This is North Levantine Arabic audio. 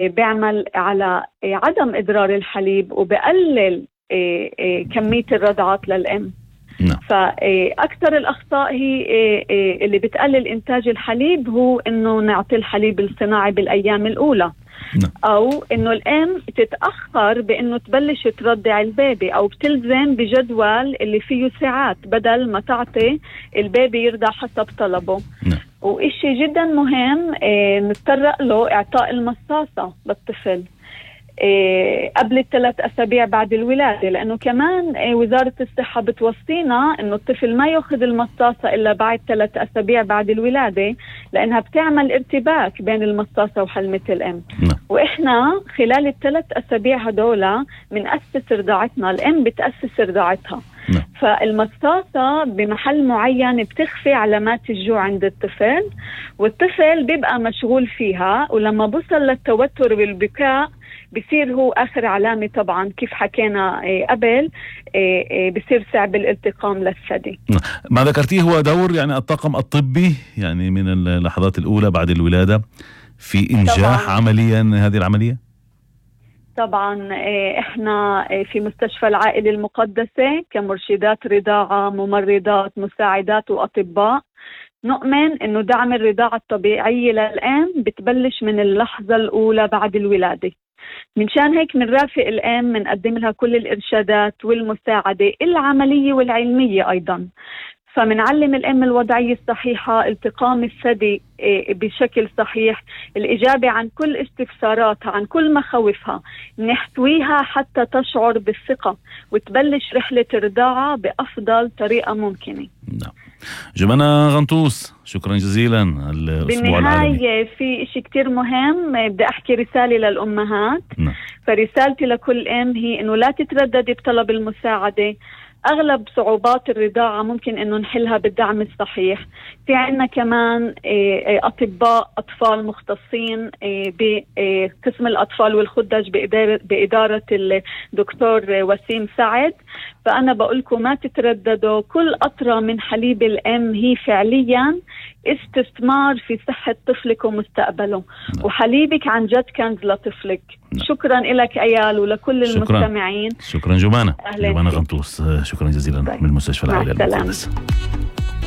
بيعمل على عدم إضرار الحليب وبقلل كمية الرضعات للأم. فأكثر الأخطاء هي اللي بتقلل إنتاج الحليب هو إنه نعطي الحليب الصناعي بالأيام الأولى، أو إنه الأم تتأخر بإنه تبلش ترضع البيبي، أو بتلزم بجدول اللي فيه ساعات بدل ما تعطي البيبي يرضع حسب طلبه. وإشي جدا مهم نتطرق له إعطاء المصاصة للطفل قبل 3 أسابيع بعد الولادة، لأنه كمان وزارة الصحة بتوصينا إنه الطفل ما يأخذ المصاصة إلا بعد 3 أسابيع بعد الولادة، لأنها بتعمل ارتباك بين المصاصة وحلمة الأم. وإحنا خلال 3 أسابيع هدولا بنأسس رضاعتنا، الأم بتأسس رضاعتها. فالمصاصة بمحل معين بتخفي علامات الجوع عند الطفل، والطفل بيبقى مشغول فيها، ولما بوصل للتوتر والبكاء بصير هو آخر علامة طبعا كيف حكينا قبل، بصير صعب الالتقام للثدي. ما ذكرتيه هو دور يعني الطاقم الطبي يعني من اللحظات الأولى بعد الولادة في إنجاح طبعاً عمليا هذه العملية؟ طبعا احنا في مستشفى العائلة المقدسة كمرشدات رضاعة، ممرضات، مساعدات وأطباء، نؤمن انه دعم الرضاعة الطبيعية للأم بتبلش من اللحظة الأولى بعد الولادة. منشان هيك منرافق الأم، منقدم لها كل الإرشادات والمساعدة العملية والعلمية أيضا. فمنعلم الأم الوضعية الصحيحة، التقام الثدي بشكل صحيح، الإجابة عن كل استفساراتها، عن كل مخاوفها، نحتويها حتى تشعر بالثقة وتبلش رحلة الرضاعة بأفضل طريقة ممكنة. نعم. جمانة غنطوس، شكرا جزيلا. الأسبوع العالمي في إشي كتير مهم بدي أحكي رسالة للأمهات. فرسالتي لكل أم هي إنه لا تترددي بطلب المساعدة. أغلب صعوبات الرضاعة ممكن إنه نحلها بالدعم الصحيح. في عنا كمان أطباء أطفال مختصين بقسم الأطفال والخدج بإدارة الدكتور وسيم سعد. فأنا بقولكم ما تترددوا، كل قطرة من حليب الأم هي فعليا استثمار في صحة طفلك ومستقبله. وحليبك عن جد كنز لطفلك. شكرا لك أيال ولكل المستمعين. شكرا جمانة غنطوس، شكرا جزيلا من مستشفى العائلة المقدسة.